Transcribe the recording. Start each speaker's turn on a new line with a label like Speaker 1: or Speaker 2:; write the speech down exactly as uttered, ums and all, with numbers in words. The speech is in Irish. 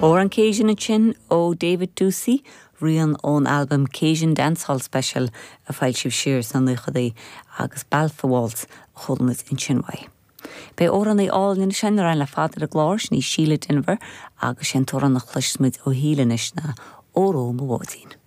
Speaker 1: Amhrán Cajun ansin ó David Ducey, rian ón albam Cajun Dancehall Special a foilsíodh siar sna nóchaidí agus Balfa Waltz a chuala muid ansin uaidh. Beidh amhránaí álainn sin ar an le fada ar an gclár sin í Síle Denvir agus sin amhrán a chloisfimid ó Shíle anois ná Óró Mo Bháidín.